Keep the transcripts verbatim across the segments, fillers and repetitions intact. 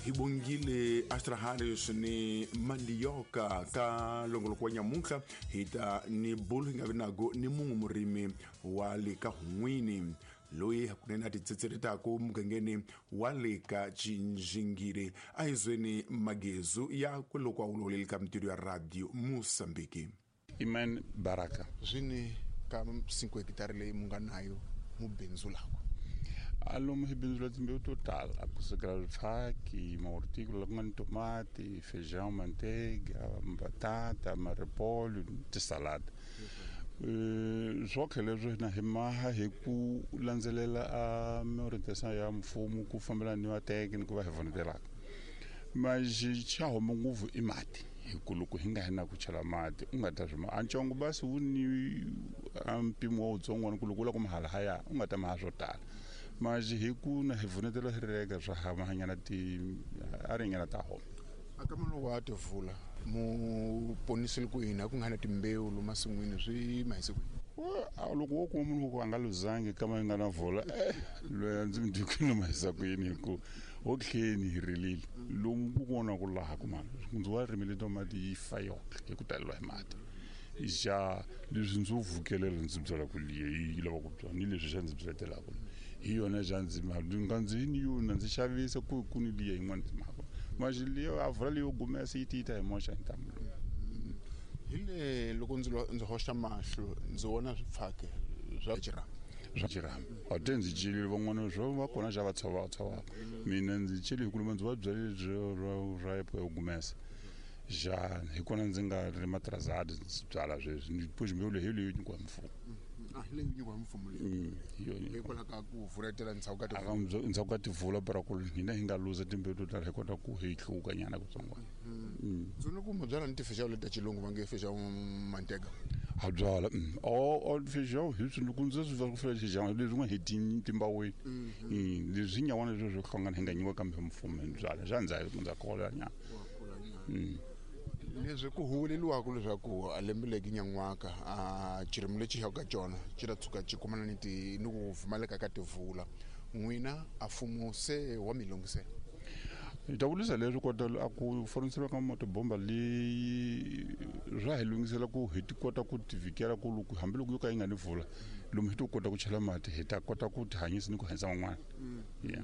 Hi bongile Astra Harris ni Mandioka ka longoloko wa nyamuntlha hi ta ni bulu hi nga vi nago ni mun'we murimi wa le ka Hun'wini loyi hakunene a titsitseretaka mugangeni wa le ka Tjinjingiri a hi zweni magezu ya kweloko a wuloleli ka mintirho ya Radio Mozambique. Iman Baraka zwini ka cinco hectare leyi mu nga nayo mu bindzulaka alomu hi bindzula timbewu to tala kusukela swifaki mahorticola ku nga ni tomati feijão manteiga batata marepolho tisalada swo leswi na hi maha hi ku landzelela a miorientation ya mfumo ku fambelana ni vateki ni ku va hi vonetelaka mas xa huma ngopfu i mati hi ku loko hi nga hi na ku chela mati u nga ta swi a ntsongo basi wu ni a mpimo wa wutsongwana ku loko u lava ku mahala haya u nga ta maha swo tala mas hi ku na hi vunetela hi reka swa hamahanyana ti a ringana ta homa aka maloku wa tivula mu ponisile ku yini a ku nga na timbewu lomu masin'wini swi mahise kwini loko wo kuma munhu ku a nga luzangi kama yi nga na vula eh loyi a ndzi mi dikini mahisa ku yini hi ku otlheni hi rilile lomu ku vona ku laha ku mani ndzi wa rimile tomati yi fa yoxe hi ku taleriwa hi mati xa leswi ndzi wu vukelela ndzi byala ku liye yi lava ku byala ni leswi xa ndzi byaletelaka hi yona xa ndzi nga ndzi ni yona ndzi xavisa ku ku ni liya yin'wana timhaka maxi liya a vula leyo gumesa yi ti yi ta hi moxa hi ntamu lowu hi le loko ndzi ndzi hoxa mahlo ndzi vona swipfake swa xirhami swa xirhami a te ndzi celile van'wana swo va kona xa va tshova tshovaka mina ndzi cele hi ku luma ndzi va byalile ra yo gumesa xa hi kona ndzi nga ri matrazadi ndzi byala sweswi ni push mbewu leyi leyi nyikiwa hi mfumo a hi leyi nyikiwa hi mfumo leyi hi yona hikwalaho ka ku vuletela ndzhaku ka tivula ndzhaku ka tivula para ku hina hi nga luza timbewu to tala hi kota ku hi hluka nyana kutsongwana ndzi vona ku mu byala ni tifeijão leti ta xilungu va nge feijão mantega ha byala o o feijão hi swi loko ndzi swi va ku fela feijão leswi nga hi timbaweni leswi nyawana leswi swi hlangana hi nga nyikiwa kambe mfumo hi byala xa ndza ndza kola nyana leswi ku huweleliwaka leswaku a lembe leki nyan'waka a xirimi lexi hi ka xona xi ta tshuka xi kumana ni ti ni ku pfumaleka ka tivula n'wina a mfumo se wa mi lunghisela hi ta vurisa leswi kota a ku foniseriwa ka motobomba leyi swa hi lunghisela ku hi ti kota ku ti vhikela ku loko hambiloko yo ka yi nga ni vula lomu hi to kota ku chela mati hi ta kota ku ti hanyisa ni ku hanyisa van'wana ya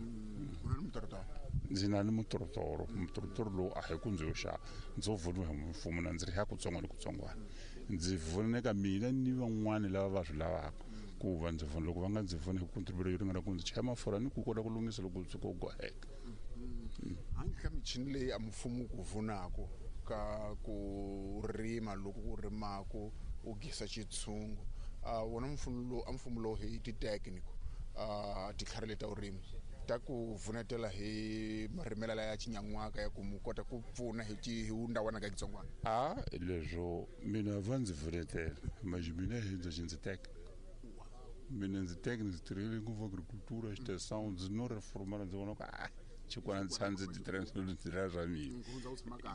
ndzi na ni mutorotoro mutorotoro lowu a hi ku ndzi yo xava ndzo voniwa hi mfumo na ndzi ri ya kutsongo ni kutsongwana ndzi voneka mina ni van'wani lava va swi lavaka ku va ndzi vona loko va nga ndzi voni hi ku contribute yo ringana ku ndzi chaya mafurha ni ku kota ku lunghisa loko ndzi ko goheka handle ka michini leyi a mfumo ku vunako ka ku rima loko ku rimaku u gisa xitshungu a wona mfumo lowu a mfumo lowu hi ti-technical a titlhari leta vurimi ta ku vunetela hi marimelo ya xinyan'waka ya ku mu kota ku pfuna hi hi wundawana ka xitsongwana a leswo mina va ndzi vunetela manje mina hi ndzi ndzi teka mina ndzi teka ndzi tirhele ngopfu agricultura extension ndzi no reformela ndzi vona ku a xikwana ndzi tshama ndzi ti tirhela swa mina ku